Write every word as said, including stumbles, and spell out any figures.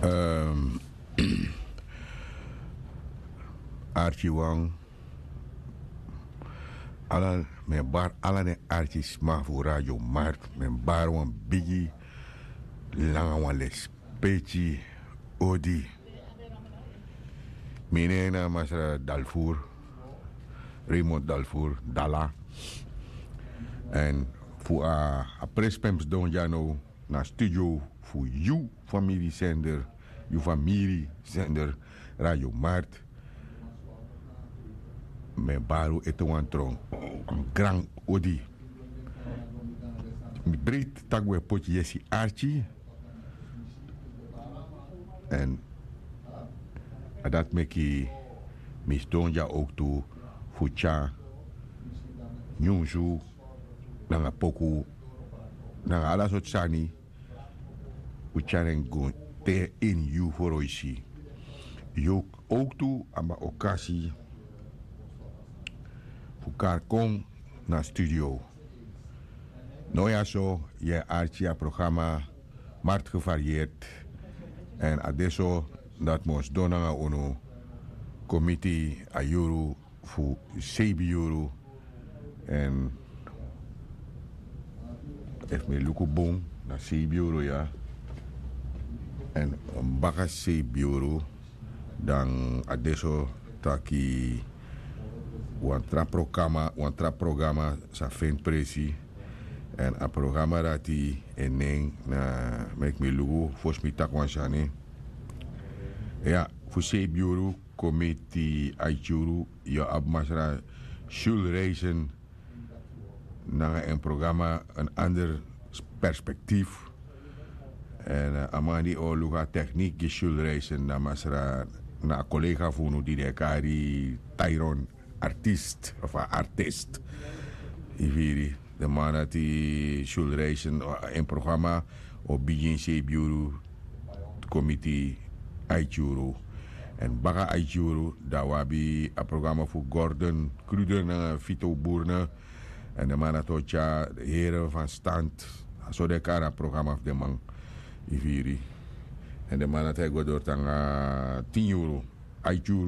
Ehm, arki wan, ala mi e bari ala den arki sma fu radio mark, mi e bari wan bigi langa wan lespeki odi. Mi nen na masra dalfur, raymond dalfur dala. Èn fu a prespem sidon dya now na studio fu yu famiri sender, yu famiri sender, radio mart. Mi e bari un ete wan tron, wan gran odi. Mi breiti tak' un e poti yesi arki. Èn a dati meki mi sidon dya owktu fu tyari nyunsu nanga poku nanga ala sortu sani. Un tyari en go te ini yu foroisi. Yu owktu abi a okasi fu kari kon na studio. No ya so yu e arki a programa markt gevarieerd. Èn a de so dati mi o sidon nanga unu kon miti a yuru fu seibi yuru. Èn efu mi e luku bun na seibi yuru ya. Èn baka seibi yuru dan a de so taki wan tra programa wan tra programa sa feni presi. Èn a programa dati en nen na meki mi luku fosi mi taki wan sani. Ya, fu seibi yuru kon miti aiti yuru yu abi masra sul reisen nanga en programa en ander perspektif. Èn a man di o luku a teknik gi sul reisen na masra na a kolega fu unu di den e kari tyron artist of a artist. Yu firi den man dati sul reisen en programa o bigin seibi yuru kon miti aiti yuru. Èn baka aiti yuru dan un abi a programa fu gordon kruder nanga fito burne. Èn den man dati o tyari here fan stand. A so den e kari a programa fu den man. Yu firi. Èn den man dati e go dori tanga tin yuru aiti yuru.